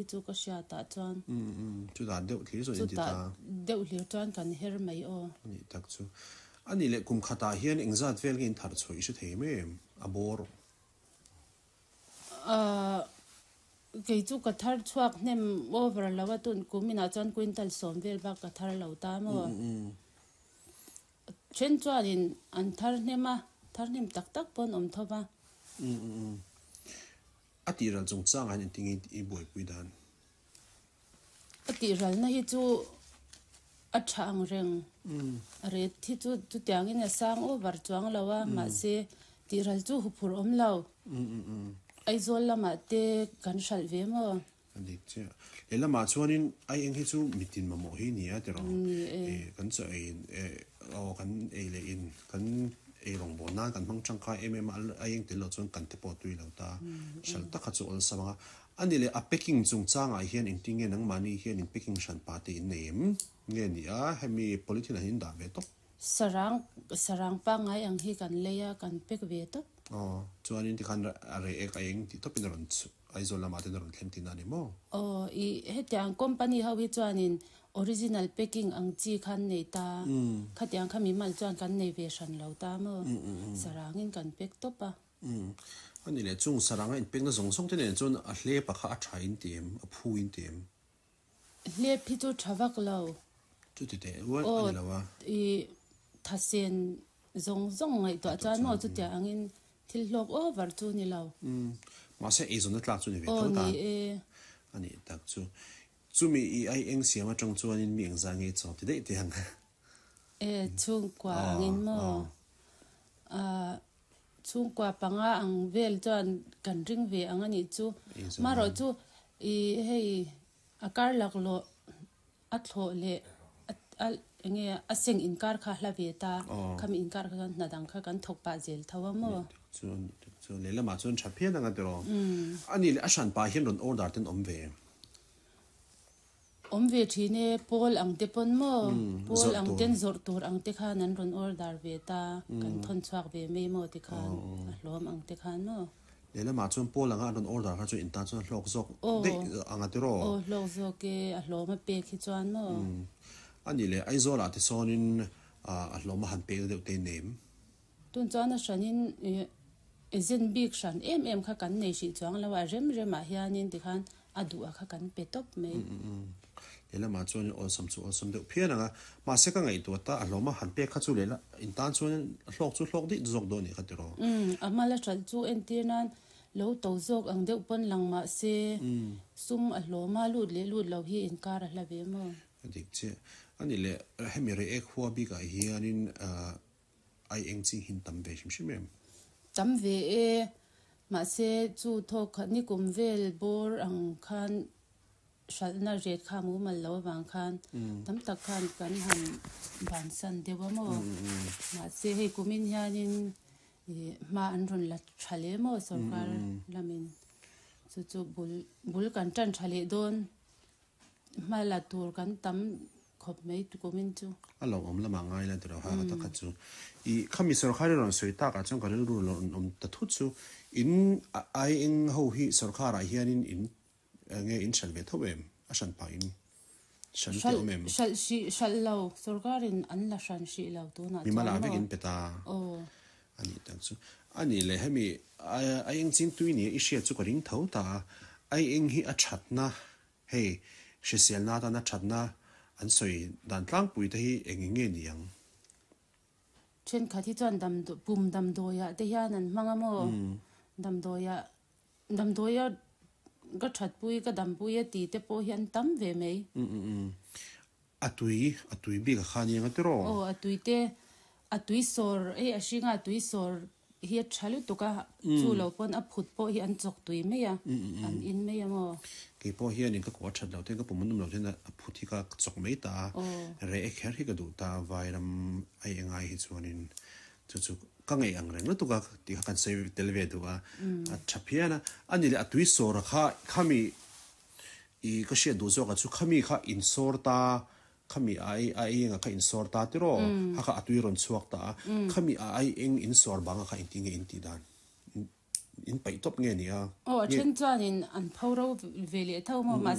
hi chu ka hriatah chuan. Umm umm chutah deuh thlir chuan in ti ta. Chutah deuh hlir chuan kan her mai aw. A nih tak chu. A nih leh kum khatah hian engzat vel nge in thar chhuah i hre thei em em? A bawr. Ahh kei chu ka thar chhuak hnem over lo a tun kum inah chuan quintal sawm vel bak ka thar lo ta maw? Then chuanin an thar hnem a, thar hnem tak tak pawn awm tho va. A tihral chungchangah hian engtin nge i buaipui dan? A tihralna hi chu a tha ang reng. A ret hi chu chutiangin a sang over chuang lo a, mahse tihral chu huphurh awm lo. Aizawl lamah te kan hralh ve maw? A dik chiah. Lehlamah chuanin ai eng hi chu mitin mamawh hi ni a tiraw? Ni e. Kan chaw ei aw kan ei leh in kan ei rawngbawl nan kan hmang tangkai em em a, ai eng tel loh chuan kan te pawh tui lo ta. Hralh tak kha chu awlsam ang a. A ni leh a packing chungchangah hian engtin nge nangmahni hian in packing hran pa te in nei em? Nge ni a, hemi polythene ah hian in dah ve tawp? Sarang, sarang pangngai ang hi kan lei a, kan pack ve tawp. Aw, chuanin tikhan a reh ek a eng tih tawpin a rawn chhuh, Aizawl lamah ten a rawn thleng tihna a ni maw? Aw, i hetiang company ho hi chuanin original packing ang chi khan nei ta, khatiang kha mimal chuan kan nei ve hran lo ta maw? Sarangin kan pack tawp a. Umm. A ni leh, chung saranga inpekna zawng zawng te nen chuan a hlep a kha a tha in ti em? A phu in ti em? Hlep hi chu tha vak lo. Chuti teh rual a ni lo a. Aw, i thasen zawng zawng ngaihtuah chuan maw chutiang angin thil hlawk over chu ni lo. Umm. Mahse eizawnna tlak chu ni ve tho ta. Aw, ni e. A nih tak chu. Chumi i ai eng siam atang chuanin mi engzah nge chaw ti daih teh ang? E, chhungkua angin maw? Aah. Chhungkua panga ang vel chuan kan ring ve ang a nih chu. Marawh chu i hei a kar laklawh a thlawh leh a enge a seng inkar kha hla ve ta. Khami inkar kha chuan hna dang kha kan thawk pah zel tho a maw? Chuan chuan lehlamah chuan tha phian ang a tiraw. A nih leh a hranpa hian rawn order ten awm ve. Awm ve thin e, Paul ang te pawn maw? Paul ang ten zawrh tur ang te khan an rawn order ve ta, kan thawn chhuak ve mai maw ti khan, a hlawm ang te khan maw? Lehlamah chuan Paul anga an rawn order kha chuan in tan chuan a hlawk zawk daih ang a tiraw? Aw hlawk zawk e, a hlawm a pek hi chuan maw? A nih leh Aizawlah te sawnin a hlawm a han pek deuh te nem. Tun chuan a hranin agent bik hran em em kha kan nei hrih chuang lo a, rem remah hianin tikhan a duh a kha kan pe tawp mai. Lehlamah chuanin awlsam chu awlsam deuh phian ang a, mahse ka ngaihtuah ta a hlawm a, han pek kha chu lehla in tan chuan hlawk chu hlawk daih zawk dawn a nih kha tiraw. Umm, a hmala hralh chu entir nan lo to zawk ang deuh pawn lang mahse sum a hlawm a, lut leh lut lo hi inkar a hla ve maw? A dik chiah. A nih leh hemi rei ek hua bikah hianin Ai eng chi hin tam ve hrim hrim em? Tam ve e, mahse chu thawk khat nikum vel bawr ang khan hralhna ret kha mumal lo avang khan tam tak khan kan han bansan deuh a maw? Mahse hei kumin hianin hma an rawn la tha leh maw sorkar lamin chu chu bul bul kan tan tha leh dawn. Hma la tur kan tam khawp mai tukumin chu. A lo awm lamah ngai la tiraw ha ta kha chu. I khami sorkar i rawn sawi takah chuan ka rilru lo rawn awm ta thut chu in ai eng ho hi sorkar ah hianin in nge in hralh ve tho em? A hran pah in hran te awm em? Hralh hrih hralh lo sorkar in an la hran hrih lo tunah chuan maw? Mimala vek in pe ta. Aw. A nih tak chu. A nih leh hemi ai eng ching tui nia i hriat chu ka ring tho ta a. Ai eng hi a thatna Hei, hriselna atana thatna an sawi dan tlangpui te hi eng eng nge ni ang? Thenkhat hi chuan pum damdawiah te hian an hmang a maw? Damdawiah, damdawia ka thatpui, ka dampui a ti te pawh hi an tam ve mai. A tui, a tui bik a kha nia nga tiraw? Aw, a tui te, a tui sawr, hei a hringa a tui sawr hi a tha lutuk a, chu lo pawn a phut pawh hi an chawk tui mai a, an in mai a maw? Kei pawh hianin ka kuah that loh ten, ka pum an awm loh ten a phut hi ka chawk mai ta a, reh e kher hi ka duh ta a, vairam ai engai hi chuanin chu chu ka ngaih ang reng lutuk a tih kha kan sawi tel ve duh a, a tha phian a, a ni leh a tui sawr a kha khami I ka hriat duh zawk ah chu khami kha in sawr ta, khami a ai a eng ah kha in sawr ta tiraw, kha kha a tui rawn chhuak ta a, khami a ai eng in sawr bang ah kha engtin nge in tih dan? In paih tawp nge ni a? Aw a then chuanin an pho ro ve leh tho maw mahse.